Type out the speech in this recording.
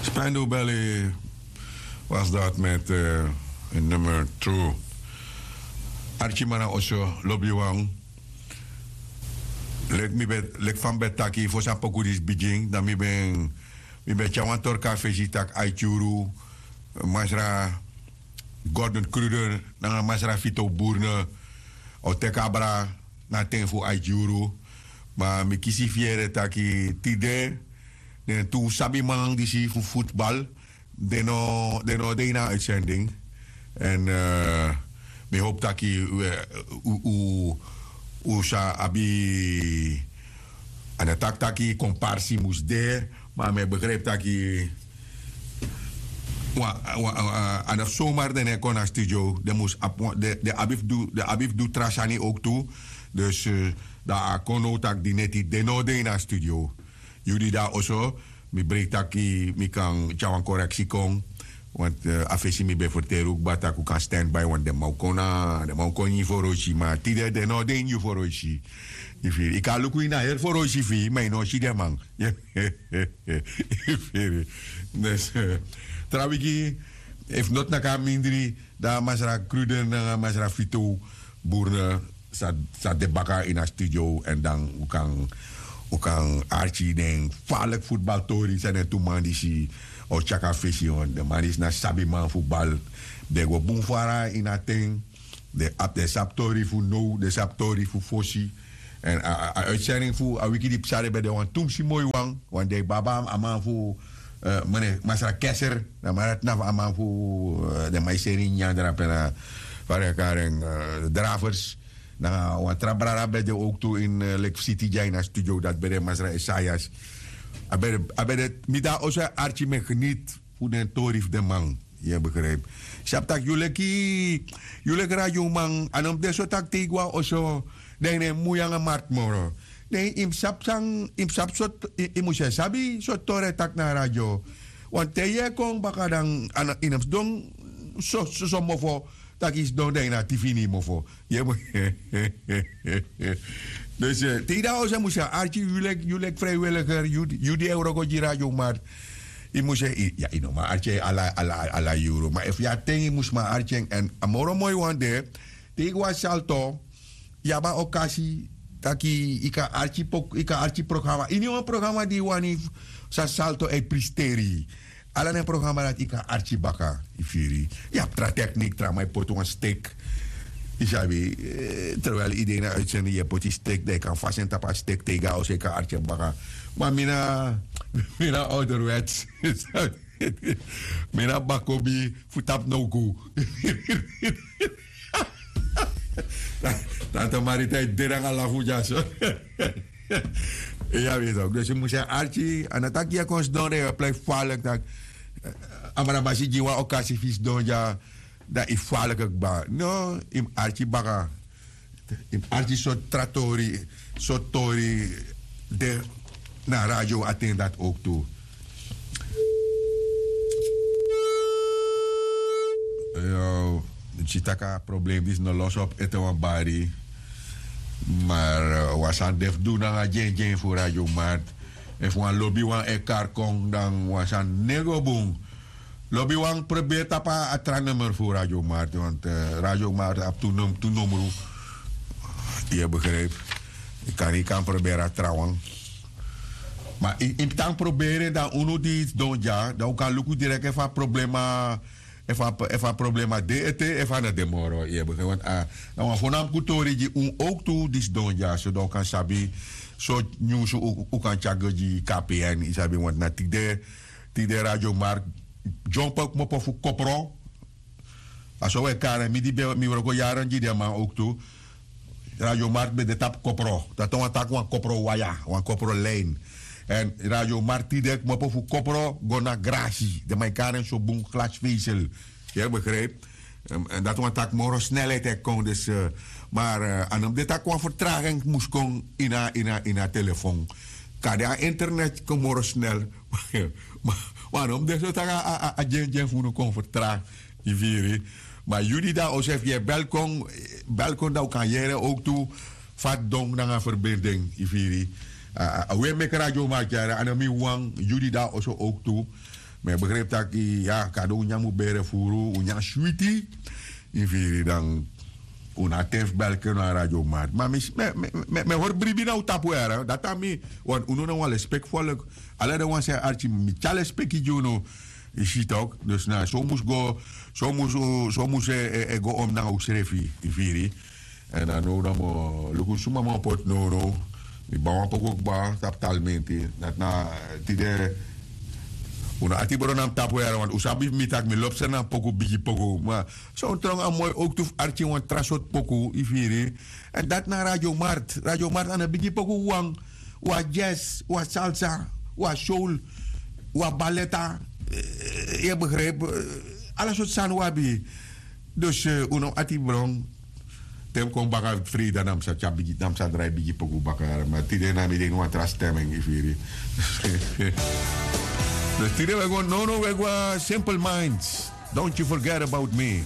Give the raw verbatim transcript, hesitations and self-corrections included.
Spendubeli was dat met nummer two. Archimana oso lobiwan. Leki mi ben leki fa mi ben taki fosi a poku disi bigin dan mi ben mi ben tyari wan torka fesi tak' aiti yuru masra gordon kruder nanga masra fito burne o teki abra na a ten fu aiti yuru. Ma mi kisi fiere taki tide den tu sabiman disi fu futbal den no de ini a utsending. Èn mi hopu taki un sa abi a no taki taki komparsi mus de. Ma mi e begripi taki a no fu somar den no e kon na studio. Den mus abi fu du tra sani owktu. Dus dan a kon now taki di neti den no de ini a studio. Yu di de na oso mi breiti taki mi kan tyari wan koreksi kon. Want a fesi mi ben ferteri un kba tak' un kan standby want den man o kon na den man o kon ini yu foroisi ma tide den no de ini yu foroisi. Yu kan luku ini a heri foroisi fu yu ma yu no o si den man. Yu firi? Tra wiki efu noti naki a mindri dan masra kruden nanga masra fito burne sa de baka ini a studio èn dan un kan arki den farliki futbaltori san den tu man disi o tyaki a fesi den man disi na sabiman fu bal. Den go bun fara ini a ten. Den abi den sabi tori fu now den sabi tori fu fosi. Èn a utsending fu a wiki di psa den ben de wan tumsi moi wan. Wan dei baba a man fu masra keser na man dati na fu a man fu den man e seri ini nyandrape na fa den e kari en dravers. Nanga wan tra brada ben de owktu ini leki fu siti dya ini a studio dati ben de masra esaias. A ben de mi de na oso e arki mi e geniti fu den tori fu den man. Yu e begripi? Sabi tak' yu leki yu leki radioman a no mus de so tak' te yu go na oso dan yu no e mui nanga marti moro. Ne yu mus sabi san yu mus sabi sortu yu mus e sabi sortu tori e taki na a radio. Wan te yu e kon baka dan a no yu no mus sidon soso mofo tak' yu sidon dan yu na a tifi ini yu mofo. Yu e mus e dus te yu de na oso yu mus e arki yu leki yu leki freiwiliger yu di e wroko gi radio marti. Yu mus e yu no man arki en ala yuru ma efu yu a ten yu mus man arki en èn a moro moi wan de. Te yu go na salto yu abi a okasi tak' yu kan arki programa ini wan programa di yu wani san salto e pristeri. Ala den programa dati yu kan arki baka. Yu firi? Yu abi tra teknik tra man e poti wan stik. Yu sabi? Terwel yu de ini a utsending yu e poti stik dan yu kan fasi en tapu a stik te yu go na oso yu kan arki en baka. Ma mi na mi na ouderwets. Mi na bakobi fu tapu nowku. Tante marita e de nanga lafu dyaso. Iya wito dus yu mus e arki a no taki yu e kon sidon dan yu e plei falek taki a brabasi gi wan okasi fu yu sidon dya. Dan yu falek kba no yu mus arki baka. Yu mus arki sortu tra tori sortu tori de na radio a ten dati owktu. Yu si tak' a problem disi no losi op ete wan bari. Mar wan sani de fu du nanga dyendyen fu radio mart. Efu wan lobiwan e kari kon dan wan sani no e go bun. Lobiwan proberi tapu a tra nummer fu radio mart want radio mart abi tu numru. Yu e begripi? Yu kan yu kan proberi a trawan. Ma yu mus tan proberi en dan unu di sidon dya dan un kan luku direk efu a problema efu a problema de ete efu a no de moro. Yu e begripi want na wan fonamku tori gi un owktu di sidon dya so dan un kan sabi so nyunsu un kan tyari go gi kpn yu sabi want na tide. Tide radio mark dyompo kmopo fu kopro. A so un e kari en mi di ben mi wroko yaren gi den man owktu. Radio mark ben de tapu kopro dati na wan taki wan kopro waya wan kopro lin. Èn radio mark tide kmopo fu kopro go na grasi den man e kari en so bun glasfesel. Yu e begripi? Dati wan taki moro snelheid e kon dus. Mar a no mus de tak' wan fertraging mus kon ini a ini a ini a telefon. Kade a internet kon moro snel. Ma a no mus de so tak' a dyendyen fu unu kon fertragi. Yu firi? Ma yu di de na oso efu yu e bel kon bel kon dan un kan yere owktu. Fa a don nanga ferbinding yu firi? A we meki radio mark yere a no mi wan yu di de na oso owktu. Mi e begripi tak' ya kado un nyan mus bere furu un nyan switi. Yu firi dan un no abi ten fu belki na radio mart ma mi e hori bribi na un tapu yara dati na mi. Wan unu na wan lespeki folk. Ala den wan san e arki mi tyari lespeki gi unu. Yu si tok dus na so un mus go so un mus e go om nanga unsrefi. Yu firi. Èn a now dan mi o luku suma mi o poti nownow. Mi ban wan poku kba tapu talmenti dati na tide. Un no ati bron na mi tapu yara want un sabi fu mi tak' mi lobster na mi poku bigi poku ma son tron a moi owktu fu arki wan tra sortu poku yu firi. Èn dati na radio mart radio mart a no bigi poku wawan. Wan jazz wan salsa wan soul wan baleta. Yu e begripi? Ala sortu sani un abi. Dus un no mus ati bron. Te mi kon baka frida na mi sa tyari bigi na mi sa drai bigi poku baka yara ma tide na mi de ini wan tra stemming yu firi. Dus tide we go no no we go a simple minds. Don't you forget about me.